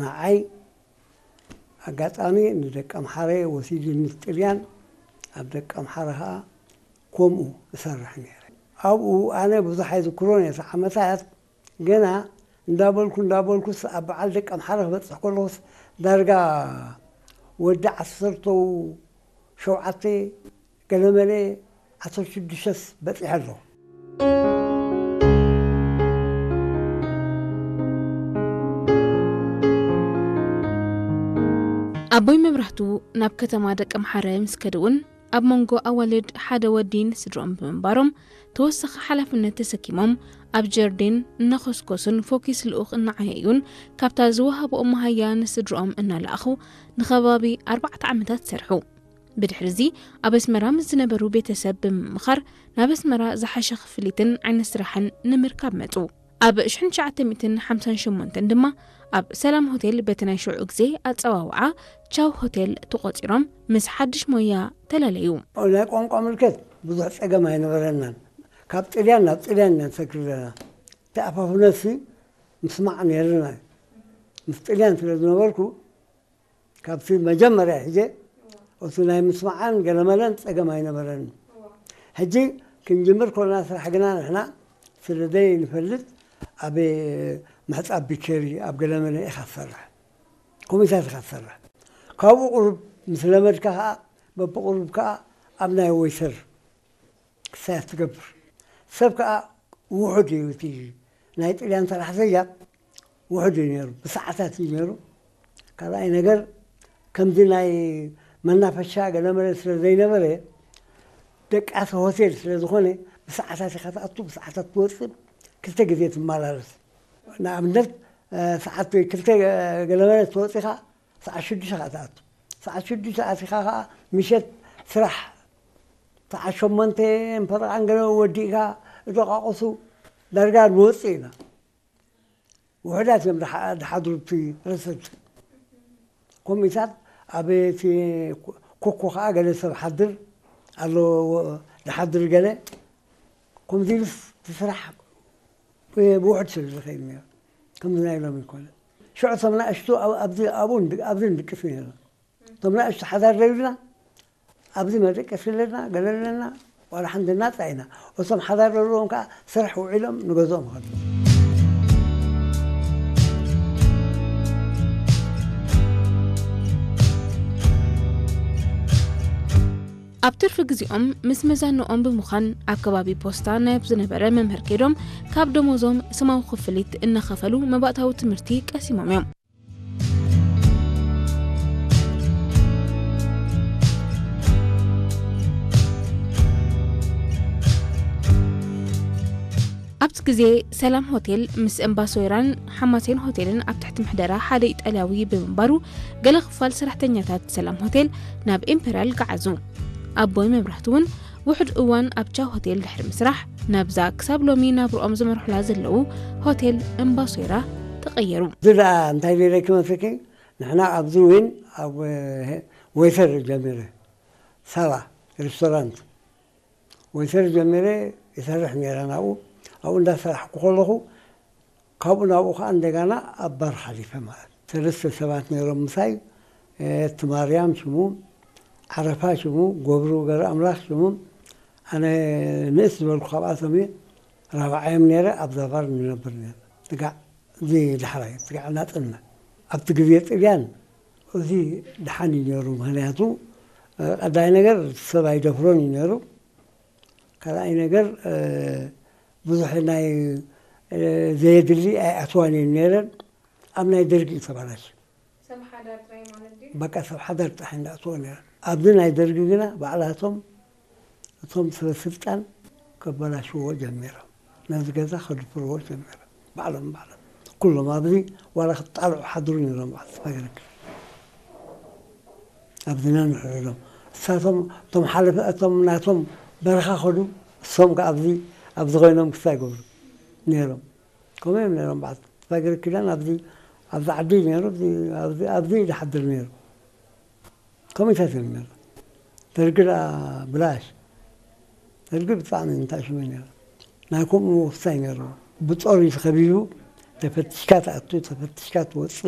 ንዓይ ኣጋጣሚ ንደቀምሓረ ወሲዱኒ ጥልያን፣ ኣብ ደቀምሓረ ኸኣ ከምኡ እሰርሕ ነይረ። ኣብኡ ኣነ ብዙሕ ኣይዝክሮን እየ፣ እቲ ዓመታት ገና እንዳበልኩ እንዳበልኩስ ኣብ በዓል ደቀምሓረ ክበጽሕ ከለኹስ ዳርጋ ወዲ ዓሰርተው ሸውዓተ ገለመለ ዓሰርተ ሽዱሽተስ በጺሐ ኣለኹ። ኣቦይ መብራህቱ ናብ ከተማ ደቀምሓረ ምስ ከዱ እውን ኣብ መንጎ ኣዋልድ ሓደ ወዲ ንስድርኦም ብምንባሮም ተወሳኺ ሓላፍነት ተሰኪሞም ኣብ ጀርዴን እናኾስኮሱን ፎኪስ ልኡኽ እናዓየዩን ካብታ ዝወሃብኦም መሃያ ንስድርኦም እናለኣኹ ንኸባቢ ኣርባዕተ ዓመታት ሰርሑ። ብድሕርዚ ኣብ ኣስመራ ምስ ዝነበሩ ቤተሰብ ብምምኻር ናብ ኣስመራ ዝሓሸ ክፍሊትን ዓይነት ስራሕን ንምርካብ መጹ። ኣብ ሽሕን ትሽዓተ ሚእትን ሓምሳን ሸሞንተን ድማ ኣብ ሰላም ሆቴል በቲ ናይ ሽዑ ግዜ ኣጸዋውዓ ቻው ሆቴል ተቖጺሮም ምስ ሓድሽ ሞያ ተላለዩ። ናይ ቋንቋ ምልከት ብዙሕ ጸገም ኣይነበረናን። ካብ ጥልያን ናብ ጥልያን ኢና ንሰግር ዘለና። እቲ ኣፋፍነሲ ምስማዕ ነይርና እዩ። ምስ ጥልያን ስለ ዝነበርኩ ካብቲ መጀመርያ ሒጀ እቲ ናይ ምስማዓን ገለመለን ጸገም ኣይነበረን። ሕጂ ክንጅምር ኮና ስራሕ ግና ንሕና ስለ ዘይንፈልጥ ኣብ ምሕጻብ ቢቸሪ ኣብ ገለመለ ኢኻ ትሰርሕ፣ ኮሚታት ኢኻ ትሰርሕ። ካብኡ ቁሩብ ምስ ለመድካ ከኣ በብቁሩብ ከኣ ኣብ ናይ ወይተር ክሳያት ትገብር። ሰብ ከኣ ውሑድ እዩ፣ እቲ ናይ ጥልያን ሰራሕተኛ ውሑድ እዩ ነይሩ፣ ብሰዓታት እዩ ነይሩ። ካልኣይ ነገር ከምዚ ናይ መናፈሻ ገለመለ ስለ ዘይነበረ ደቃሲ ሆቴል ስለ ዝኾነ ብሰዓታት ኢኻ ትኣቱ፣ ብሰዓታት ትወፅእ፣ ክልተ ግዜ ትመላለስ። ንኣብነት ሰዓት ክልተ ገለመለ ትወፅእ ኢኻ፣ ሰዓት ሽዱሽተ ኸዓ ትኣቱ። ሰዓት ሽዱሽተ ኣቲኻ ኸዓ ምሸት ስራሕ ሰዓት ሸሞንተ ፈረቓን ገለ ወዲእካ ደቃቕሱ ዳርጋ ንወፅእ ኢና። ውሑዳት እዮም ዝሓድሩ እቲ ረሰት። ኮሚታት ኣብ እቲ ኮኮ ኸዓ ገለ ሰብ ሓድር ኣሎ ዝሓድር ገለ ከምዚ ኢሉስ እቲ ስራሕ ብውሑድ ስለ ዝኸይድ ነይሩ። ከምዚ ናይ ሎሚ ይኮነ። ሽዑ እቶም ንኣሽቱ ኣብዚ ኣብኡ ኣብዚ ንድቅስ ነይርና። እቶም ንኣሽቱ ሓዳር ዘይብልና ኣብዚ መደቀሲ ኣለና፣ ገለ ኣለና፣ ዋላ ሓንቲ ናጻ ኢና። እቶም ሓዳር ዘለዎም ከኣ ስራሕ ውዒሎም ንገዝኦም ይኸዱ። ኣብ ትርፊ ግዜኦም ምስ መዛንኦም ብምዃን ኣብ ከባቢ ፖስታ ናይ ዝነበረ መምህር ከይዶም ካብ ደሞዞም ስማዊ ክፍሊት እናኸፈሉ መባእታዊ ትምህርቲ ቀሲሞም እዮም። ኣብቲ ግዜ ሰላም ሆቴል ምስ እምባሶይራን ሓማሴን ሆቴልን ኣብ ትሕቲ ምሕደራ ሓደ ኢጣልያዊ ብምንባሩ ገለ ክፋል ሰራሕተኛታት ሰላም ሆቴል ናብ ኢምፔርያል ገዓዙ። ኣቦይ መብራህቱ እውን ውሑድ እዋን ኣብ ቻው ሆቴል ድሕሪ ምስራሕ ናብዛ ክሳብ ሎሚ ናብርኦም ዝመርሑላ ዘለዉ ሆቴል እምባሶይራ ተቐየሩ። እዚ ደኣ እንታይ ገይረኪ መስለኪ? ንሕና ኣብዚ ዊን ኣብ ወይተር ጀሚረ፣ ሳባ ሬስቶራንት ወይተር ጀሚረ ይሰርሕ ነይረ ናብኡ። ኣብኡ እንዳሰራሕኩ ከለኹ ካብኡ ናብኡ ከዓ እንደገና ኣብ ባር ሓሊፈ ማለት ሰለስተ ሰባት ነይሮም ምሳይ። እቲ ማርያም ሽሙ፣ ዓረፋ ሽሙ፣ ገብሩ ገረ ኣምላኽ ሽሙ። ኣነ ንእስ ዝበልኩ ካብኣቶም እየ። ራብዓዮም ነይረ ኣብዛ ባር ንነብር ነይረ። ትጋዕ እዚ ዳሕራይ ትጋዕ እናጠና ኣብቲ ግዜ ጥልያን እዚ ደሓን እዩ ነይሩ። ምክንያቱ ቀዳይ ነገር ሰብ ኣይደፍሮን እዩ ነይሩ። ካልኣይ ነገር ብዙሕ ናይ ዘየድሊ ኣይኣትዋን እየን ነይረን። ኣብ ናይ ደርጊ እዩ ተባላሽ። በቃ ሰብ ሓዳር ጥራሕ እንዳእትዎ ነይረን። ኣብዚ ናይ ደርጊ ግና ባዕላቶም እቶም ሰበ ስልጣን ከበላሽዎ ጀሚሮም። ነዚ ገዛ ከድፍርዎ ጀሚሮም ባዕሎም ባዕሎም። ኩሎም ኣብዚ ዋላ ክጣልዑ ሓድሩ ነይሮም ባዕል ተፋገረክ ኣብዚ ነንሕርዶም እሳቶም እቶም ሓለፈ እቶም ናቶም በረኻ ከዱ እሶም ከ ኣብዚ ኣብዚ ኮይኖም ክሳይ ገብሩ ነይሮም። ከምኡ እዮም ነይሮም በዓል ተፋገረ ኪዳን ኣብዚ ኣብዚ ዓዲ ነይሩ ኣብዚ ኣብዚ ዝሓድር ነይሩ። ከመይታት እዮም ነይሩ። ደርጊ ደኣ ብላሽ ደርጊ ብጣዕሚ እንታይ ሽመ ነይሩ። ናይ ከምኡ ወፍሳይ ነይሩ። ብጦር እዩ ተኸቢቡ። ተፈትሽካ ትኣቱ ተፈትሽካ ትወፅእ።